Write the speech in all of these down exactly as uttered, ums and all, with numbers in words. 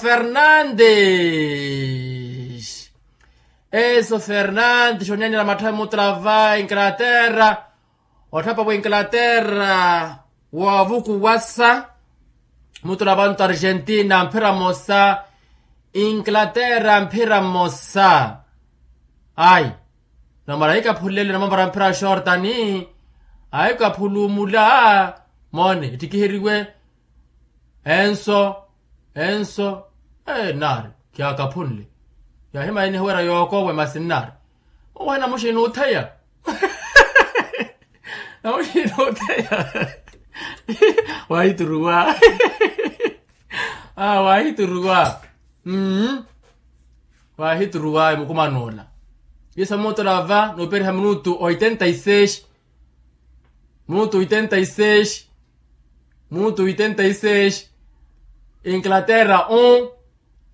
Fernandes. Enso fernandes onyanela matthavi muttula va inglaterra. Otthapa wa inglaterra, woovukuwasa muttula va nto argentina mphira mmosa. Inglaterra mphira mmosa. Ayi, namara ahikaphulele namamara mphira a xortani. Ahikaphulumula. Moone ettikiheriwe. Enso. Enso. Naari, kiyakaphunle. Yahimaya enihiwera yookowe masi nnaari. Owahi namuxini otheya. Namuxini otheya. Wahituruwa. Wahituruwa. Wahituruwa emukuman'ola. Isa muttula va nuuperiha minutu oitenta y seis. Minutu oitenta y seis. Minutu oitenta y seis. Inglaterra un,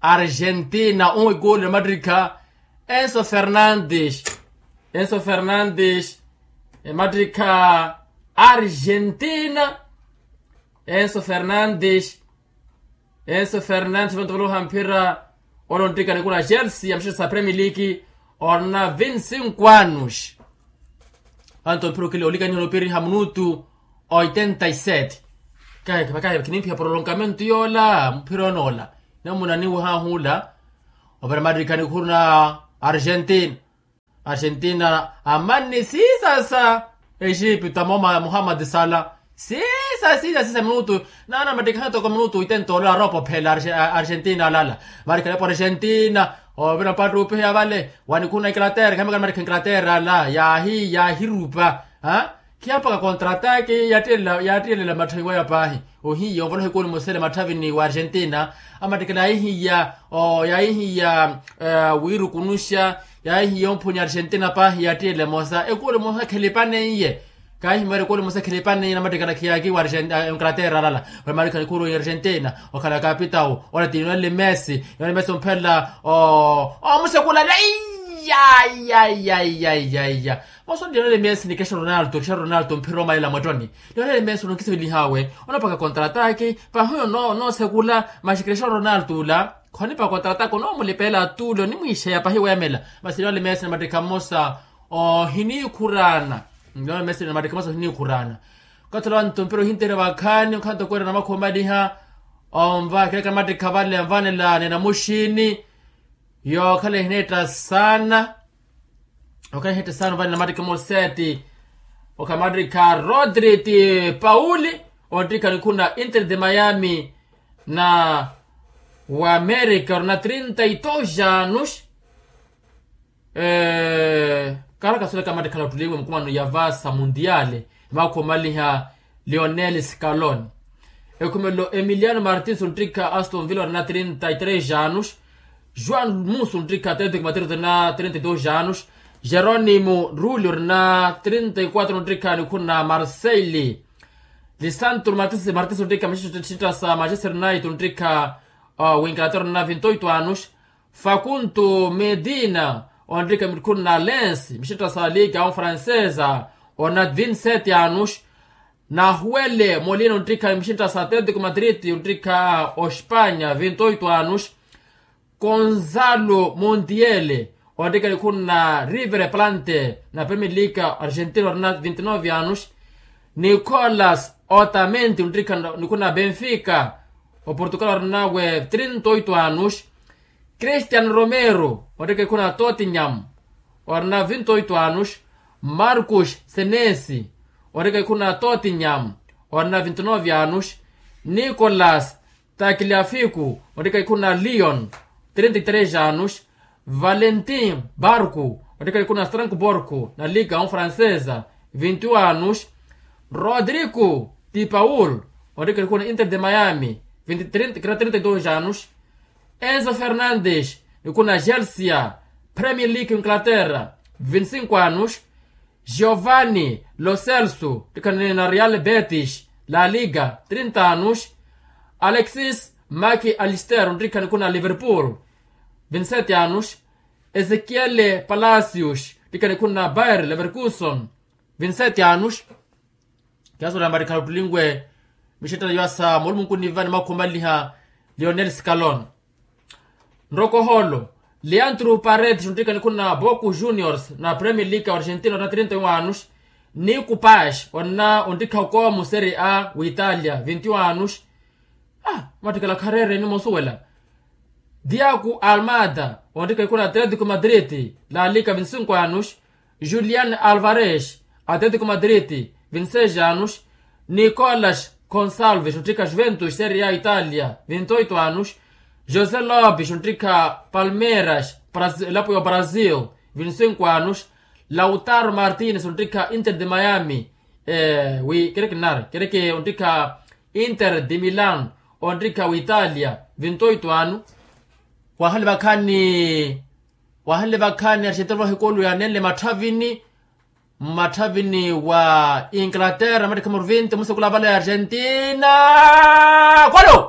argentina un egoli emattikha. Enso fernandes. Enso fernandes. Emattikha argentina. Enso fernandes. Enso fernandes vantu valuha mphira. Ole onttikani kuna chelsea ya mixettasa premier league. Orina vinti cinco anos. Vantu mphira okili olikaniha onopiriha minutu oitenta y sete. Kahi kahi khinimpiha prolongamento yoola mphira onoola. Namuna niwehaahu ola. Ovira mattikha nikhuru na argentina. Argentina amanni siisasa. Egipto amooma muhammad sala. Siisa siisa siisa minutu. Naana mattikha toko minutu oitenta olola aropa ophela. Argentina alala. Mattikha nepo argentina. Ovira mpattuupiheya vale wanikhuru na inglaterra khamekana mattikha inglaterra ala yaahi yaahirupa. Khiya mpakha contrataki. Yaattiyelela matthavi waya paahi. Ohiya ovoloha ekoli mosele matthavini wa argentina. Amattikela yaihiya yaihiya wiirukunuxa. Yaihiya omphunya argentina paahi yaattiyele emosa ekoli emosa khelipaneiye. Kaahimwera ekoli emosa khelipaneiye namattikela khiyaki wa inglaterra alala. Wamaalikha nikhuru ya argentina okhala kapitau. Ole ti lionel messi. Lionel messi omphelela omusekula. Iya. Moso lionel messi ni cristiano ronaldo cristiano ronaldo mphira omalela mwettoni. Lionel messi ononkisivelihawe. Onopaka contrataki. Pahi onoosekula. Maxi cristiano ronaldo ula khonipa contrataki onoomulipeela atule onimwiixeya pahi weemela. Masi lionel messi namattikha mmosa ohiniikhuraana. Lionel messi namattikha mmosa ohiniikhuraana. Okathi olowa nto mpira ohinteerya vakhaani okhala nto kweera namakhuwa omaliha. Onva khilaka namattikha vale nvanela ni namuxini. Yookhala ehineetta saana. Okhala ehineetta saana vale namattikha moseti. Okhala namattikha rodri ti pauli. Onttikha nikhuna inter de miami na wa amerika orina trinta y dos anos. Kaala kasoleka mattikhala ottuliwe mukumano ya vasa mundiale. Emakhuwa omaliha lionel scaloni. Ekhumelo emiliano martins onttikha aston villa orina trinta y tres anos. Juan musu onttikha atletico madrid orina trinta y dos anos. Jerónimo rulio orina trinta y quatro onttikha nikhuna marseille. Lisantro martins onttikha mixitasa manchester united onttikha winglaterra orina vinti oito anos. Fakunto medina onttikha nikhuna lens mixitasa liga on francesa orina vinti sete anos. Nahuele molina onttikha mixitasa atletico madrid onttikha ospanya vinti oito anos. Gonzalo montiele onttikha nikhuna river plante na premier league argentina orina vinti nove anos. Nicolas otamendi onttikha nikhuna benfica oportugal orinawe trinta oito anos. Cristian romero onttikha nikhuna tottenham orina vinti oito anos. Marcus senesi onttikha nikhuna tottenham orina vinti nove anos. Nicolas takliafiku onttikha nikhuna lyon trinta y tres anos. Valentin barku onttikha nikhuna strasbourg na liga on francesa vinti anos. Rodrigo ti paul onttikha nikhuna inter de miami trinta y dos anos. Enzo fernandes nikhuna chelsea premier league inglaterra vinti cinco anos. Giovanni lo celso onttikha ni na real betis la liga trinta anos. Alexis mac alister onttikha nikhuna liverpool vinti sete anos. Ezekiele palacios onttikha nikhuna bayer leverkuson vinti sete anos. Kiasola mattikhala ottulinwe mixettela yoasa moolumunkuni vani makhuwa omaliha lionel scaloni. Nrokoholo, leandro paredes onttikha nikhu na boku juniors na premier league wa argentina onna trinta e um anos, ni kupash onna onttikha okoomu serie a w'italia vinti e um anos. Mattikhala khareereni moosuwela. Diaku almada onttikha nikhu na atletico madrid, la liga vinti e cinco anos. Julian alvarez, atletico madrid, vinti e seis anos. Nicolas gonçalves onttikha juventus serie a italia, vinti e oito anos. José lopes onttikha palmeiras, elapo ya brazil, vinti e cinco anos. Lautaro martínez onttikha inter de miami, wi kereke nar kereke onttikha inter de milan, onttikha w'italia, vinti e oito anos. Wahanle vakhaani wahanle vakhaani argentina vahikulu yanenle matthavini mmatthavini wa inglaterra mattikha maru vinti musekula avala ya argentina. Kolo.